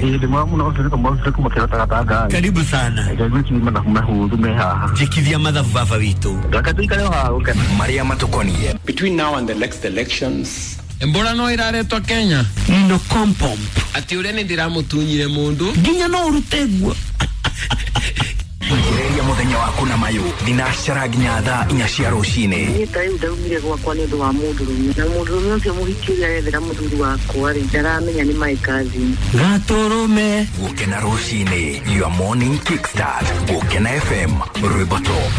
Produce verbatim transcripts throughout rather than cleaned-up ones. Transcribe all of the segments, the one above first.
Ĩĩ ndĩ mwega mũno, ũcio nĩ kamwe ũcio kuma kĩrota gatanga. Karibu sana. Ngai mathabu mahũthũ me haha. Njĩkithia mathabu baba witũ. Reke tũikare o haha gũkena. Marĩa matũkoniĩ. Between now and the next elections, Mbora no iraretwo Kenya Nino kompomp. Ati uria ni ndiramutunyire mundu nginya no urute guo. Ambĩrĩria mũthenya waku na mayũ thinacara nginya thaa inya cia rũcinĩ. Niĩ ta rĩu ndaumire gwakwa nĩ ũndũ wa mũndũrũme, na mũndũrũme ũcio mũhiki ũrĩa arethera mũthuri wakwa rĩ, ndaramenya nĩ my cousin. Gatũrũme. Gũkena rũcinĩ, your morning kickstart. Gũkena F M, rwĩmbo top.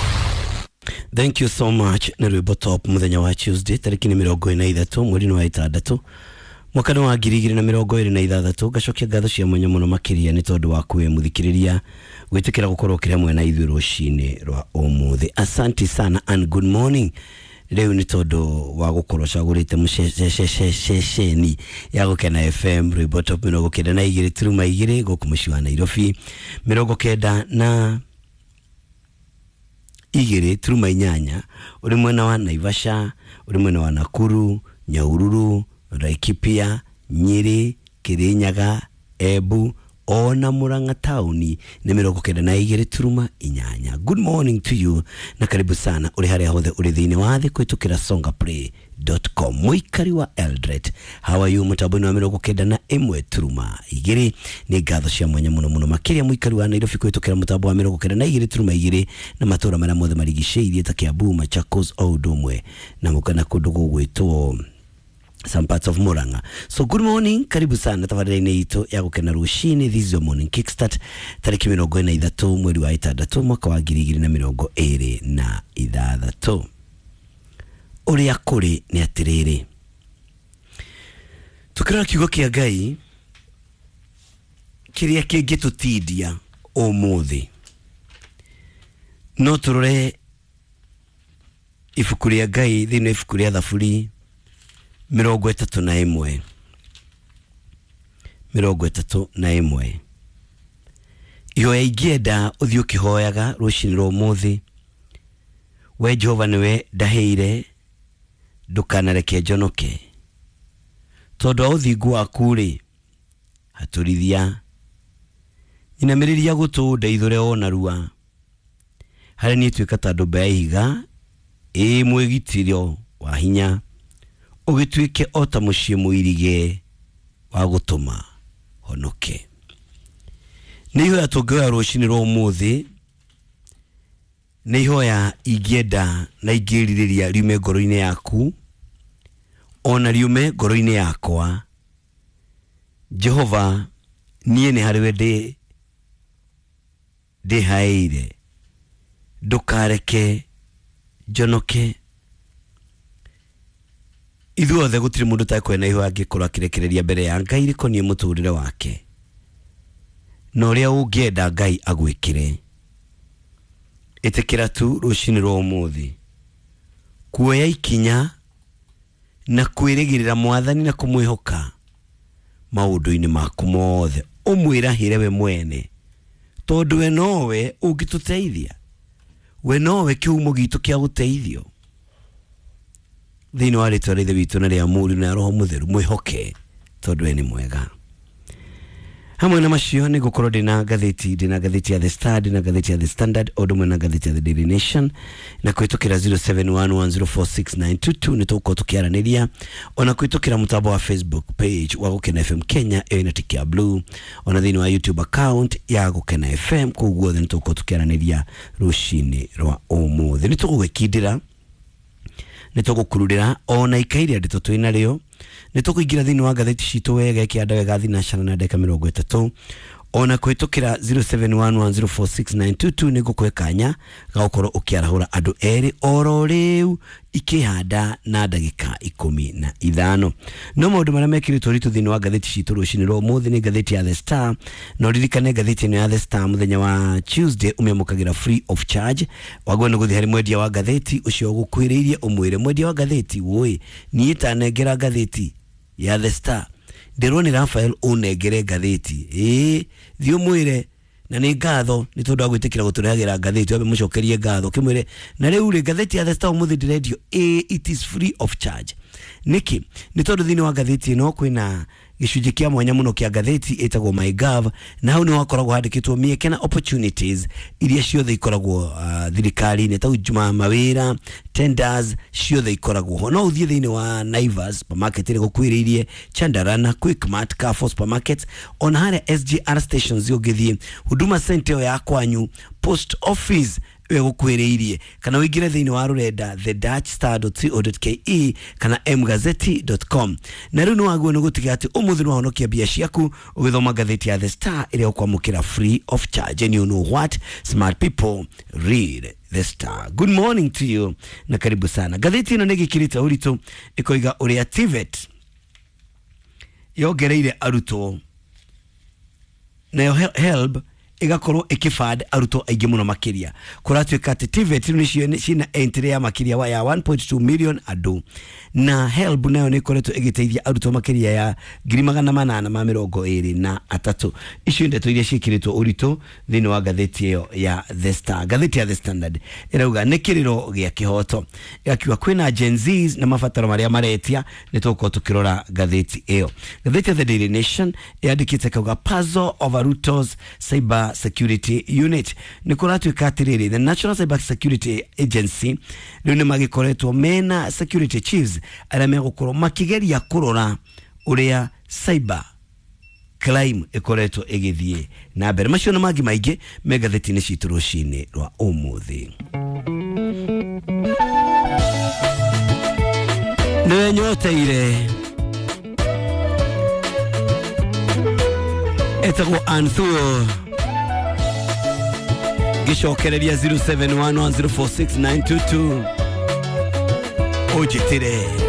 Thank you so much. Nĩ rwĩmbo top mũthenya wa Tuesday tarĩki nĩ mĩrongo ĩna ithatũ mweri-inĩ wa ĩtandatũ mwaka wa ngiri igĩrĩ na mĩrongo ĩrĩ na ithathatũ. Ngacokia ngatho cia mwanya mũno makĩria nĩ tondũ wa kwĩ mũthikĩrĩria gwĩtĩkĩra gũkorwo ũkĩrĩ hamwe na ithuĩ rũcinĩ rwa ũmũthĩ. Asante sana and good morning. Rĩu nĩ tondũ wa gũkorwo cagũrĩte mũceceni ya Gũkena F M rwĩmbo top mĩrongo kenda na igĩrĩ turuma igĩrĩ gũkũ mũciĩ wa Nairobi, mĩrongo kenda na igĩrĩ turuma inyanya ũrĩ mwena wa Naivasha, ũrĩ mwena wa Nakuru, Nyahururu, Laikipia, Nyeri, Kirinyaga, Embu ona Murang'a tauni nĩ mĩrongo kenda na igĩrĩ turuma inyanya. Good morning to you na karibu sana ũrĩ harĩa hothe ũrĩ thĩinĩ wa thĩ kũhĩtũkĩra songaplay dot com. Mũikari wa Eldoret, how are you? Mũtambo-inĩ wa mĩrongo kenda na ĩmwe turuma igĩrĩ. Nĩ ngatho cia mwanya mũno mũno makĩria mũikari wa Nairobi kũhĩtũkĩra mũtambo wa mĩrongo kenda na igĩrĩ turuma igĩrĩ na matũũra marĩa mothe marigicĩirie ta Kiambu, Machakos o ũndũ ũmwe na mũkana kũndũ gũgwĩtwo some parts of Murang'a. So good morning, karibu sana tabarĩra-inĩ itũ ya Gũkena rũcinĩ. This is your morning kickstart tarĩki mĩrongo ĩna ithatũ mweri wa ĩtandatũ mwaka wa ngiri igĩrĩ na mĩrongo ĩrĩ na ithathatũ. Ũrĩa kũrĩ nĩ atĩrĩrĩ, tũkĩrora kiugo kĩa Ngai kĩrĩa kĩngĩtũtindia ũmũthĩ, no tũrore ibuku rĩa Ngai thĩinĩ wa ibuku rĩa Thaburi mĩrongo ĩtatũ na ĩmwe mĩrongo ĩtatũ na ĩmwe. Ihoya ingĩenda ũthiĩ ũkĩhoyaga rũcinĩ rwa ũmũthĩ: we Jehova nĩwe ndahĩire, ndũkanareke njonoke, tondũ wa ũthingu waku rĩ hatũrithia. Nyinamĩrĩria gũtũ ndeithũre o narua, harĩ niĩ tuĩka ta ndũmba ya ihiga ĩ mwĩgitĩro wa hinya, ũgĩtuĩke o ta mũciĩ mũirige wa gũtũma honoke. Nĩ ihoya tũngĩhoya rũcinĩ rwa ũmũthĩ, nĩ ihoya ingĩenda na ingĩrirĩria riume ngoro-inĩ yaku ona riume ngoro-inĩ yakwa. Jehova, niĩ nĩ harĩwe ndĩ ndĩhaĩire, ndũkareke njonoke. Ithuothe gũtirĩ mũndũ ũtakwenda ihoya angĩkorwo akĩrekereria mbere ya Ngai rĩkoniĩ mũtũrĩre wake na ũrĩa ũngĩenda Ngai agwĩkĩre. Ĩtĩkĩra tu rũcinĩ rwa ũmũthĩ kuoya ikinya na kwĩrĩgĩrĩra Mwathani na kũmwĩhoka maũndũ-inĩ maku mothe, ũmwĩrahĩre we mwene, tondũ we nowe ũngĩtũteithia, we nowe kĩhumo gitũ kĩa gũteithio. Thĩinĩ wa rĩtwa rĩa Ithe witũ na rĩa Mũriũ na Roho Mũtheru, mwĩhoke tondũ we nĩ mwega. Hamwe na macio nĩ ngũkorwo ndĩna ngathĩti, ndĩna ngathĩti ya The Star, ndĩna ngathĩti ya The Standard, o ũndũ ũmwe na ngathĩti ya The Daily Nation, na kũhĩtũkĩra zero seven one one zero four six nine two two nĩ tũgũkorwo tũkĩaranĩria, ona kũhĩtũkĩra mũtambo wa Facebook page wa Gũkena F M Kenya ĩyo ĩna tiki ya blue, ona thĩinĩ wa YouTube account ya Gũkena F M. Kũu guothe nĩ tũgũkorwo tũkĩaranĩria rũcinĩ rwa ũmũthĩ. Nĩ tũgũgĩkindĩra, nĩ tũgũkururĩra ona ikaire ndeto twĩ narĩo, nĩ tũkũingĩra thĩinĩ wa ngathĩti citũ wega ĩkĩanda wega thinacara na ndagĩka mĩrongo ĩtatũ, ona kũhĩtũkĩra zero seven one one zero four six nine two two nĩ ngũkũhe kanya ga gũkorwo ũkĩarahũra andũ erĩ oro rĩu ikĩhanda na ndagĩka ikũmi na ithano. No maũndũ marĩa mekĩrĩtwo ritũ thĩinĩ wa ngathĩti citũ rũcinĩ rwa ũmũthĩ nĩ ngathĩti ya The Star, na ũririkane ngathĩti ĩno ya The Star mũthenya wa Tuesday ũmĩamũkagĩra free of charge. Wagwo nĩ gũthiĩ harĩ mwendia wa ngathĩti ũcio ũgũkuhĩrĩirie ũmwĩre, mwendia wa ngathĩti, wũĩ niĩ tanengera ngathĩti ya The Star, ndĩrwo nĩ Raphael ũnengere ngathĩti. Ĩĩ, thiĩ ũmwĩre na nĩ ngatho nĩ tondũ wa gwĩtĩkĩra gũtũrehagĩra ngathĩti, wambe mũcokerie ngatho ũkĩmwĩre na rĩu rĩ ngathĩti ya The Star ũmũthĩ ndĩrendio, ĩĩ, it is free of charge. Nĩkĩ? Nĩ tondũ thĩinĩ wa ngathĩti ĩno kwĩna gĩcunjĩ kĩa mwanya mũno kĩa ngathĩti ĩtagwo MyGov, na hau nĩ wakoragwo handĩkĩtwo mĩeke na opportunities iria ciothe ikoragwo uh, thirikari-inĩ ta juma mawĩra, tenders ciothe ikoragwo ho. No ũthiĩ thĩinĩ wa Naivas supermarket ĩrĩa gũkuhĩrĩirie, Chandarana, Quickmart, Carrefour supermarket, ona harĩa S G R stations ũngĩthiĩ, Huduma Center ĩyo ya kwanyu, post office ĩyo gũkuhĩrĩirie, kana ũingĩre thĩinĩ wa rũrenda the dutch star dot co dot ke kana m gazeti dot com. Na rĩu nĩ wagĩrĩirwo nĩ gũtiga atĩ ũmũthĩ nĩ wahonokia mbia ciaku ũgĩthoma ngathĩti ya The Star ĩrĩa ũkwamũkĩra free of charge. And you know what? Smart people read The Star. Good morning to you na karibu sana. Ngathĩti ĩno nĩ ĩgĩkĩrĩte ũritũ ĩkoiga ũrĩa T V E T yongereire arutwo, nayo HELB igakorwo ikifund arutwo aingĩ mũno makĩria. Kũratuĩka atĩ T V E T nĩcio cina entry ya makĩria wa ya one point two million andũ, na HELB nayo nĩ ĩkoretwo ĩgĩteithia arutwo makĩria ya ngiri magana manana ma mĩrongo ĩrĩ na atatũ. Icio ndeto iria ciĩkĩrĩtwo ũritũ thĩinĩ wa ngathĩti ĩyo ya The Star. Ngathĩti ya The Standard ĩrauga nĩ kĩrĩro gĩa kĩhoto, ĩgakiuga kwĩna Gen Zs na mabataro marĩa maretia. Nĩ tũgũkorwo tũkĩrora ngathĩti ĩyo. Ngathĩti ya The Daily Nation yandĩkĩte kauga puzzle over Ruto's cyber security unit. Nĩ kũratuĩka atĩrĩrĩ, the National Cyber Security Agency rĩu nĩ magĩkoretwo mena security chiefs arĩa megũkorwo makĩgeria kũrora ũrĩa cyber crime ĩkoretwo ĩgĩthiĩ na mbere. Macio na mangĩ maingĩ me ngathĩti-inĩ citũ rũcinĩ rwa ũmũthĩ. Nĩwe nyoteire etagwo Anthuo gicokereria zero seven one one zero four six nine two two. Ujitire.